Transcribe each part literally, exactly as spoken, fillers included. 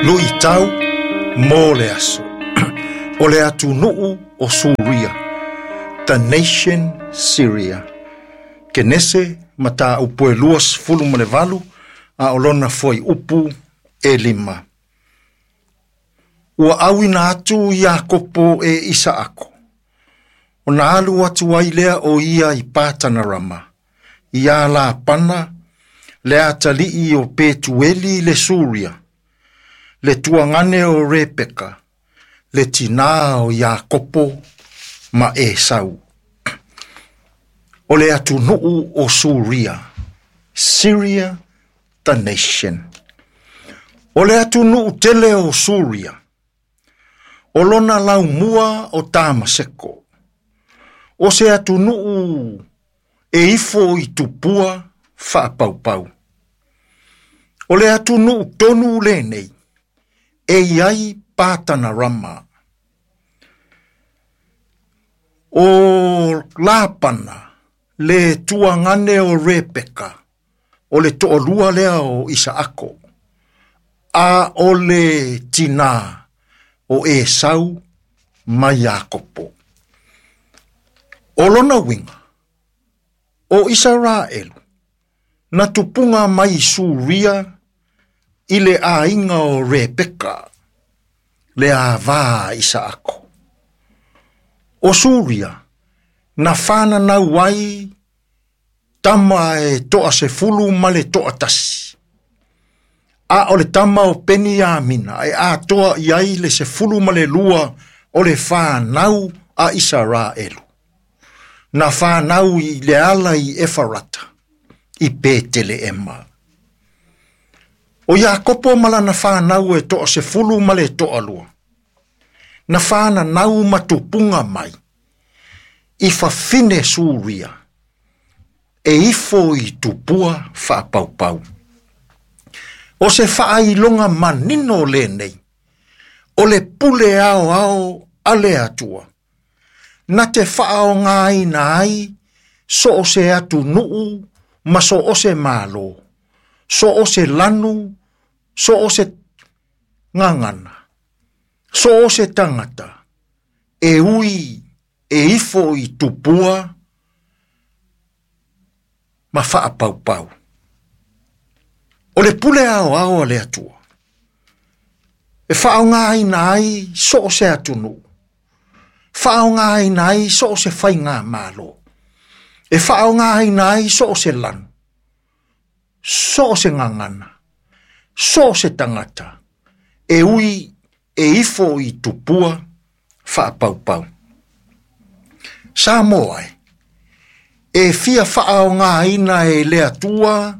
Luʻitau mo le aso. O le atunuu o Suria, the nation Syria. Kenese mataupu e luasefulu ma le valu a o lona fuaiupu e lima. Ua auina atu Iakopo e Isaako. Ona alu atu ai lea o ia i Patanarama, ia Lapana, le atalii o Petueli le Suria, le tuagane o Repeka, le tinā o Iakopo ma Esau. O le atunuu o Suria, Syria the nation. O le atunuu tele o Suria, o lona laumua o Tamaseko. O se atunuu e ifo i tupua faapaupau. O le atunuu tonu lenei, e iai Patanarama. O Lapana, le tuagane o Repeka, o le toʻalua lea o Isaako, a o le tinā o Esau ma Iakopo. O lona uiga, o Isaraelu, na tupuga mai Suria i le aiga o Repeka, le avā Isaako. O Suria, na fananau ai tama e toasefulu ma le toatasi. A o le tama o Peniamina e atoa i ai le sefulu ma le lua o le whanau a Isaraelu. Na whanau i le ala i Efarata, i Peteleema. O Iakopo ma lana whanau e toasefulu ma le toalua. Na whananau matupunga mai, i fafine Suria, e ifo i tupua faapaupau. O se faailoga manino lenei, o le pule ao ao a le Atua, na te faaogaina ai so o se atunuu ma so o se malo, so o se lanu, so o se gagana, so o se tagata, e ui e ifo i tupua ma faapaupau. O le pule ao ao a le Atua, e faaogaina ai so o se atunuu, faaogaina ai so o se faiga malo, e faaogaina ai so o se lanu, so o se gagana, so o se tagata, e ui e ifo i tupua faapaupau. Samoa e, e fia faaogaina e le Atua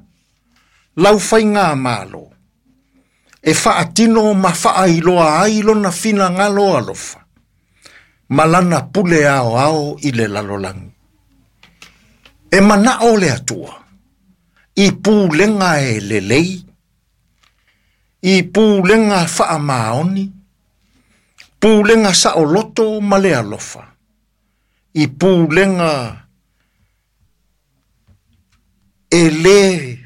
lau faiga malo, e faatino ma faailoa ai lona finagalo alofa, ma lana pule ao ao i le lalolagi. E manao le Atua, i pulega e lelei, i pulega faamaoni, pulega saoloto ma le alofa, i pulega e le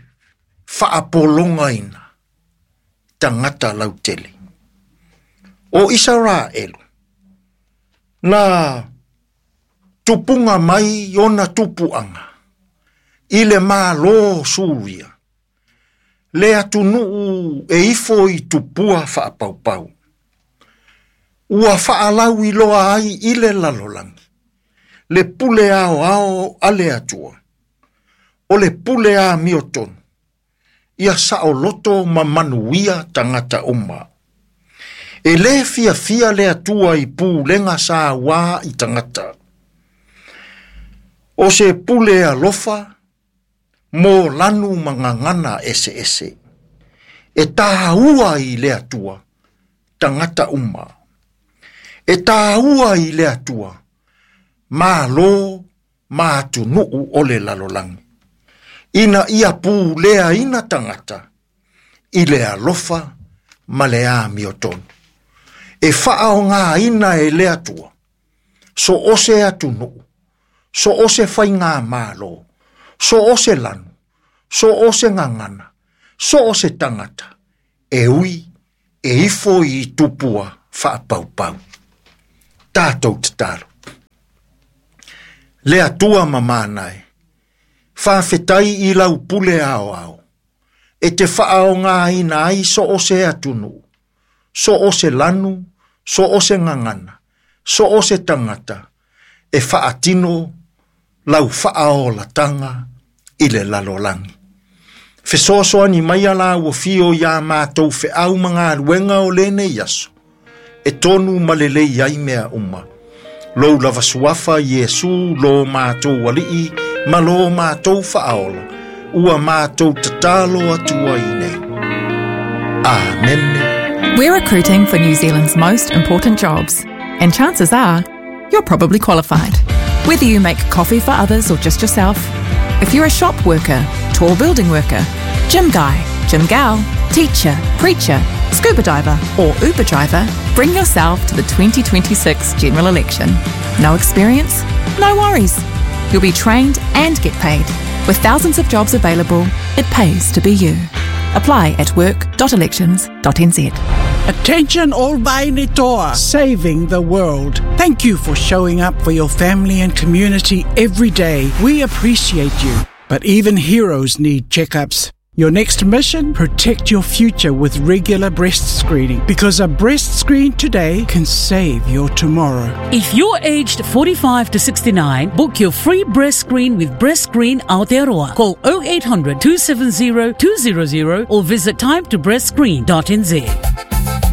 faapologaina tagata lautele. O Isaraelu, na tupunga mai ona tupuaga, i le malo Suria, le atunuu e ifo i tupua faapaupau. Ua faalauiloa ai i le lalolagi, le pule ao ao a le Atua, o le pule amiotonu, ia saoloto ma manuia tagata uma. E le fiafia le Atua i pulega sauā i tagata. O se pule alofa, mo lanu ma gagana eseese. E tāua i le Atua, tagata uma. E tāua i le Atua, malo ma atunuu o le lalolagi. Ina ia puleaina tagata, i le alofa ma le amiotonu. E faaogaina e le Atua, so o se atunuu, so o se faiga malo, so o se lanu, so o se gagana, so o se tagata, e ui e ifo i tupua whaapaupau. Tātou tatalo. Le atua mamānai, whawhetai i lau pule ao ao, e te whaao ngā ina ai so o se atunu, so o se lanu, so o se ngangana, so o se tangata, e whaatino lau whaao latanga i le lalolangi. Fesoasoani mai ala ua fio ia mātou wheau mga luenga o lene iaso, e tonu malelei ai mea uma. Lou lava suafa Iesu lo mātou alii, ma lo mātou whaola, ua mātou tatalo atua i nei. Amen. We're recruiting for New Zealand's most important jobs, and chances are you're probably qualified. Whether you make coffee for others or just yourself, if you're a shop worker, tall building worker, gym guy, gym gal, teacher, preacher, scuba diver, or Uber driver, bring yourself to the twenty twenty-six general election. No experience? No worries. You'll be trained and get paid. With thousands of jobs available, it pays to be you. Apply at work dot elections dot n z. Attention all Vainitoa, saving the world. Thank you for showing up for your family and community every day. We appreciate you. But even heroes need checkups. Your next mission? Protect your future with regular breast screening, because a breast screen today can save your tomorrow. If you're aged forty-five to sixty-nine, book your free breast screen with Breast Screen Aotearoa. Call oh eight hundred, two seven zero, two zero zero or visit time to breast screen dot n z.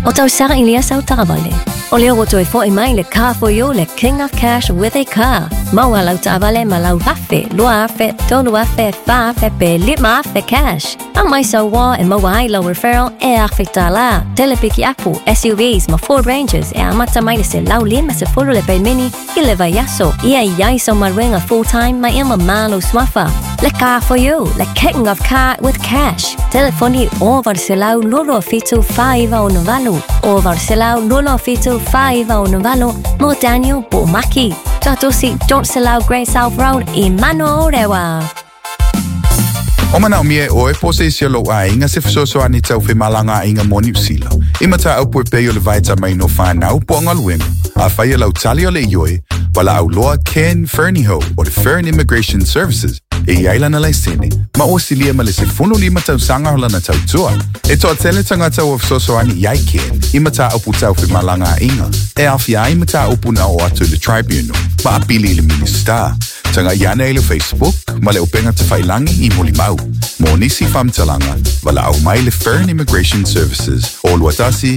O tau sara ilia sau taravale. O leo o toi fo i mai le car for you, le king of cash with a car. Maua lau taavale ma lau afe, lua afe, tolu afe, fa afe, pe lima afe cash. A mai sau wa e maua ai lau referral e afe tala. Telepiki apu, S U Vs, ma Ford Rangers, e amata mai le se lau lima se folo le pelmeni, i le vaiaso, ia iai sau maruenga full time, ma ima malo swafa. Le car for you, le king of car with cash. Telefoni o varselau lolo fitu faiva o novalu. O varselau lolo fitu faiva o novalu. Mo Daniel Bomaki. Tatosi Don't Selau Great South Road i Mano Rewa. O mana o mie oe po se isi o lou ainga se fesoasoani tau femalanga ainga mo Niu Sila. I mata au pue pei o le vaeta mai no whanau po ngaluenga. A whai lau tali o le ioe, wala au loa Ken Ferniho o le Fern Immigration Services e i ailana laisene, ma o silia ma le se funu lima tau sanga holana tau tua. E toa tele tangata o fesoasoani i ai Ken, i mata au putau femalanga ainga. E awhia ai mata au puna o atu le tribunal, ma apili i le minista. Tanga iana i le Facebook, ma le upenga te whailangi i Mulimau. Mo nisi whamtalanga, wala au mai le Fern Immigration Services o Luatasi